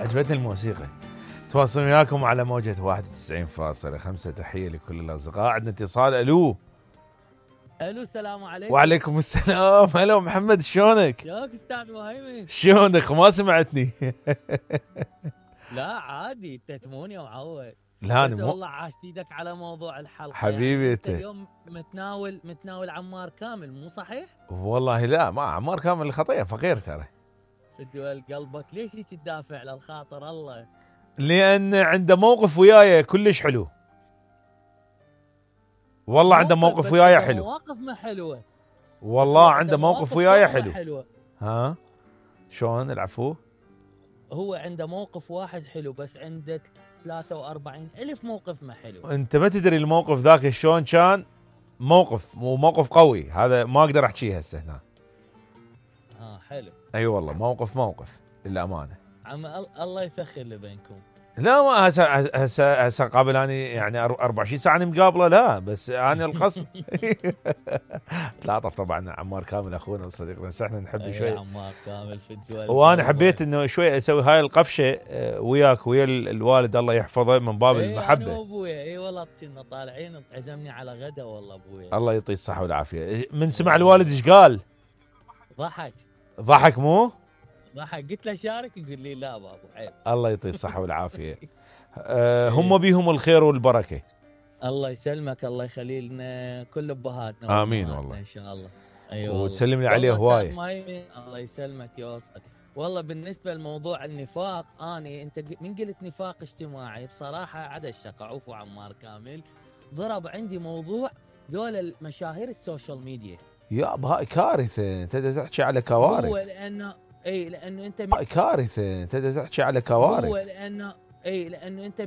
عجبتني الموسيقى. تواصل وياكم على موجة 91.5. تحية لكل الأصدقاء. عندنا اتصال. ألو السلام عليكم. وعليكم السلام. هلا محمد، شلونك؟ ياك استاذ مهيمن. شلونك؟ ما سمعتني. لا عادي، انت تموني ومعود. لا بس والله عاشت ايدك على موضوع الحلقة. حبيبي انت اليوم متناول عمار كامل، مو صحيح؟ والله لا، ما عمار كامل الخطية فقير ترى. فدوى قلبك ليش هيك تدافع للخاطر الله؟ لأن عنده موقف وياي كلش حلو. والله عنده موقف وياي حلو. مواقف ما حلوة. والله عنده موقف وياي حلو. حلوة. ها شلون العفو؟ هو عنده موقف واحد حلو، بس عندك 43,000 موقف ما حلو. انت ما تدري الموقف ذاك شلون كان. موقف مو موقف قوي، هذا ما اقدر احكيه هسه هنا. حلو. اي والله موقف للامانه. عم الله يفخر اللي بينكم. لا ما هسه قابل اني يعني 24 ساعه مقابله، لا بس انا القصد. تلاطف طبعا عمار كامل اخونا وصديقنا، بس احنا نحب شوي عمار كامل في الدول. وانا حبيت انه شوي اسوي هاي القفشه وياك ويا الوالد الله يحفظه من باب المحبه. انا وابويا اي والله كنا طالعين عزمني على غدا والله ابويا. الله يعطيه الصحه والعافيه. من سمع الوالد ايش قال؟ ضحك مو؟ ضحك. قلت له شارك، يقول لي لا بابا عيب. الله يعطيه الصحه والعافيه. هم بيهم الخير والبركه. الله يسلمك، الله يخلي لنا كل ابهاتنا. امين والله ان شاء الله. ايوه وتسلم لي عليه هوايه. الله يسلمك يوصلك. والله بالنسبه لموضوع النفاق، انت من قلت نفاق اجتماعي بصراحه عدا الشقة. عفو عمار كامل ضرب عندي موضوع دول المشاهير السوشيال ميديا. يا هاي كارثه، انت تحكي على كوارث. هو لانه انت كارثه، انت تحكي على كوارث. هو لانه انت